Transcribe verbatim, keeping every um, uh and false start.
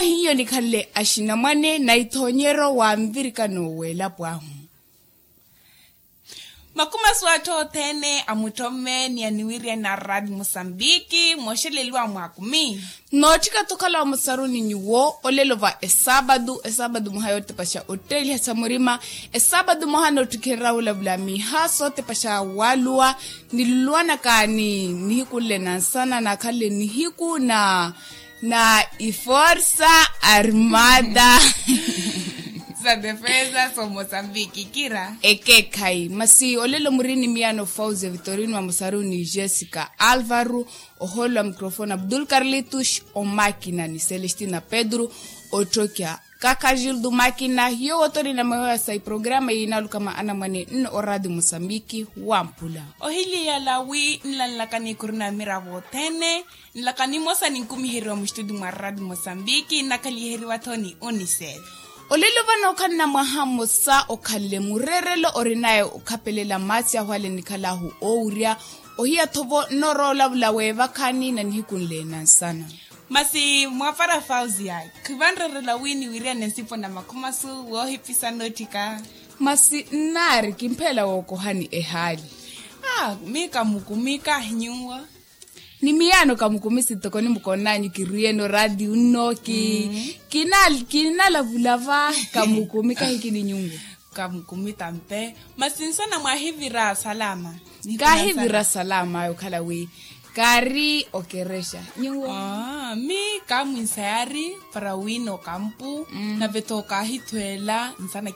Hiyo nikhanle axinamwane na ithoonyero wa nvirikano w'elapo ahu. Makumasu atthu othene amuttomme ni aniwiriyana a radi musambiki mooxeleliwa mwaakumi. Nootthika-tho okhala wa musaruni nyuwo olelo va esaapatu esaapatu mwaha yootepaxa otteeliha sa murima. Esaapatu mwaha nootthikhererya wulavula miiha sootepaxa waaluwa niluluwanaka ni nihiku nle na nsana naakhanle nihiku na na iforsa armada sa defesa so mosambiki kira. Ekeekhayi masi olelo muri ni miyaano fausia vitorino wa musaruni jessica alvaro, ohoolo wa microfone abdul carlitus, omakina ni celestina pedro, otthokya kaka gildo makina hiyo wotorina mawewa sa iprograma yiinaaluka mwa anamwane nno oradio mosambiki wampula. Ohiliyala wi nlanlaka nikhurina miravo othene. Nlaka nimosa ninkumiheriwa muxituti mwa radio mosambiki nnakhaliheriwa-tho ni unicef. Olelo vano okhanna mwaha mmosa okhanle mureerelo orinaye okhapelela maasi ahu ale nikhalaahu oowurya. Ohiya-tho-vo nnoorowa olavula weevakhani na nihiku nle na nsana. Masi mwapara fausia khivanreerela wi niwiriyane nsipo na makhumasu woohipisa nootthika. Masi nnaari kimpheela wookohani ehaali. Aa miika mukumika nyuwo. Ni miyaano kamukumisi ntoko nimukoonanyu kirwiyeno radio nno ki kinalavulava. Kamukumi kahikini nyungu. Kamukumi tampe. Masi nsana mwahivira salama? Kahivira salama ayo okhala wi kaari okerexa nyungu. Mi kamwinsa yaari para wina okampu nave tho kaahithweela nsana.